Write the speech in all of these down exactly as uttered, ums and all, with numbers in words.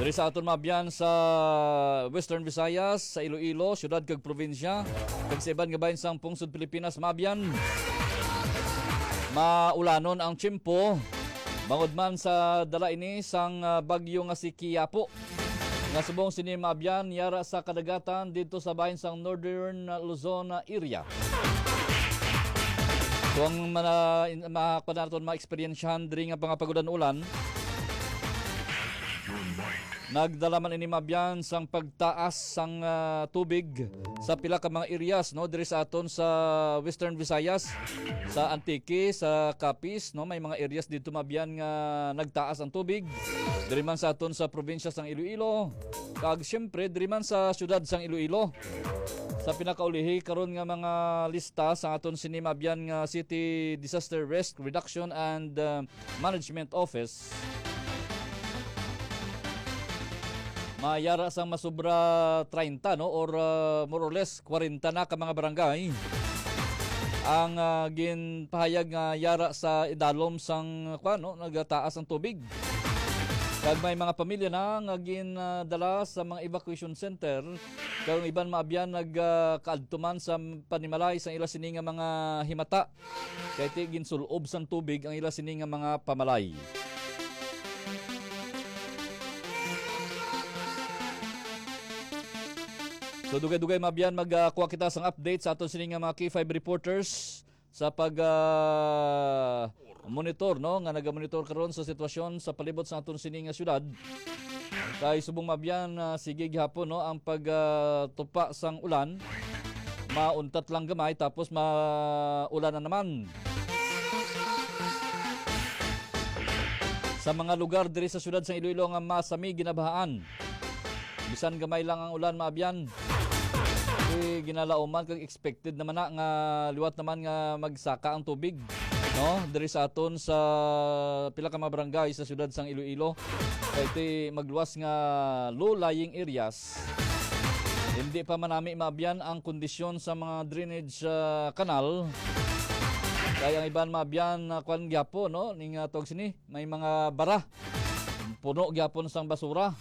Diri sa aton maabyan sa Western Visayas, sa Iloilo, syudad kag probinsya, kag sa iban nga bahin sang pungsod Pilipinas, maabyan, maulanon ang tiyempo. Bangod man sa dala ini sang, ah, bagyo nga si Kiapo, nga subong sini maabyan yara sa kadagatan didto sa bahin sang Northern Luzon area. Kung mana-, in-, ma-, kuwan naton, ma-eksperyensyahan diri nga mga pag-ulan-ulan, nagdala man ini maabyan sang pagtaas sang, ah, tubig sa pila ka mga areas, no, diri sa aton sa Western Visayas, sa Antique, sa Capiz, no, may mga areas dito maabyan nga nagtaas ang tubig. Diri man sa aton sa probinsya sang Iloilo, kag siyempre diri man sa siyudad sang Iloilo. Sa pinakaulihi karon nga mga lista sa aton sini maabyan nga City Disaster Risk Reduction and, uh, Management Office, mayara sang masubra treinta, no, or, uh, more or less kwarenta na ka mga barangay ang, uh, ginpahayag nga yara sa idalom sang, kuwan, no, nagataas ang tubig. Kag may mga pamilya na nga gindala sa mga evacuation center, kag ang iban maabyan nagkaadto man sa panimalay sa ila sini nga mga himata, kay ti ginsul-ob sang tubig ang ila sini nga mga pamalay. So, dugay-dugay maabyan magkuha kita sang update sa aton sini nga mga K five reporters sa pag, ah, monitor, no, nga nagamonitor karon sa sitwasyon sa palibot sa aton sini nga syudad. Kay subong maabyan, ah, sige gihapon, no, ang pag, ah, tupa sang ulan. Mauntat lang gamay tapos maulan na naman. Sa mga lugar diri sa siyudad sa Iloilo nga masami ginabahaan, bisan gamay lang ang ulan, maabyan, eh, ginalauman kag expected naman na nga liwat naman nga magsaka ang tubig, no? Diri sa aton sa pila ka mga barangay sa siyudad sang Iloilo. Kay ti magluwas nga low-lying areas, hindi pa manami maabyan ang kondisyon sa mga drainage, ah, kanal. Kay ang iban maabyan na kwan gyapo, no? Ning, ah, tawag sini, may mga bara. Puno gyapon sang basura.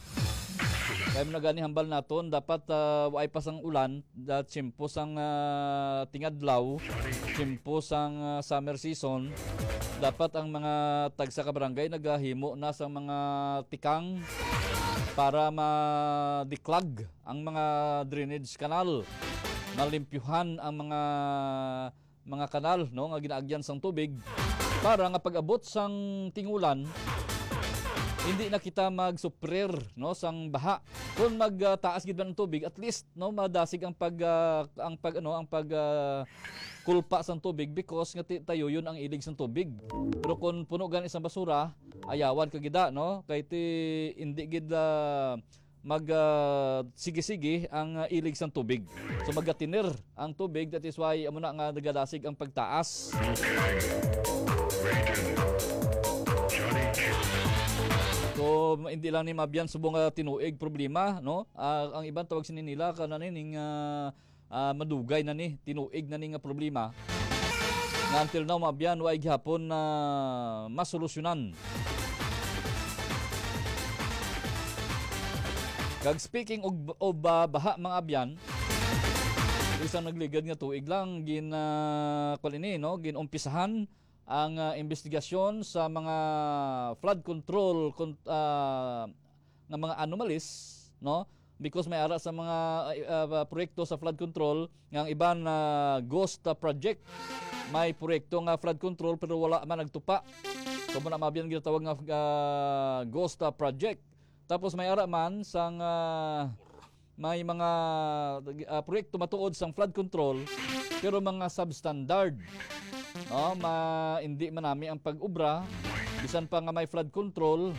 Kay mo na gani hambal naton, dapat, ah, waay pa sang ulan, da tiyempo sang, ah, tingadlaw, tiyempo sang, ah, summer season, dapat ang mga tagsa ka barangay nagahimo na sang mga tikang para ma-declog ang mga drainage canal, malimpyuhan ang mga mga kanal, no, nga ginaagyan sang tubig para nga pag-abot sang tingulan, hindi na kita magsuprir, no, sang baha. Kung magtaas gid man ang tubig, at least, no, madasig ang pag, ah, ang pag, ano, ang pag, ah, kulpa sang tubig because nga ti-, tayuyon ang ilig sang tubig. Pero kung puno gani sang basura, ayawan ka gida, no? Kay ti, hindi gid, ah, mag, ah, sige-sige ang, ah, ilig sang tubig. So, magatiner ang tubig, that is why amo na nga nagadasig ang pagtaas. So, hindi lang ni maabyan subong nga tinuig problema, no? Ah, ang iban tawag sini nila, kana ni, ning, ah, ah, madugay na ni, tinuig na ni nga problema. Nga until now, maabyan, wa gihapon na masolusyonan. Kag speaking of, of, ah, baha, mga abyan, isang nagligad nga tuig lang, gin, ah, kwan ini, no? Ginumpisahan ang, ah, investigasyon sa mga flood control, kon-, ah, nga mga anomalies, no? Because may ara sa mga, ah, ah, proyekto sa flood control nga ang iban na ghost, ah, project. May proyekto nga flood control pero wala man nagtupa. So, muna mabiyan ginatawag nga, ah, ghost, ah, project. Tapos may ara man sang, ah, may mga, ah, proyekto matuod sang flood control pero mga substandard. No, ma-, hindi manami ang pag-ubra. Bisan pa nga may flood control,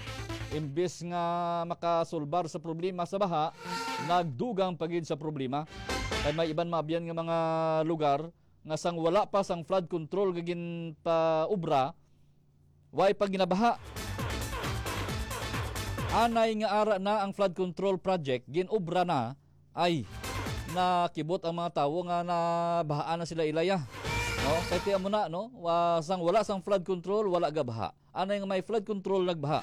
imbes nga makasulbar sa problema sa baha, nagdugang pa gid sa problema. Kay may iban maabyan nga mga lugar nga sang wala pa sang flood control nga ginpaubra, way pa ginabaha. Anay nga ara na ang flood control project, ginubra na, ay, nakibot ang mga tawo nga nabahaan na sila ilaya. No? Kay ti amo na, no? Wa-, sang wala sang flood control, wala gabaha. Anay nga may flood control, nagbaha.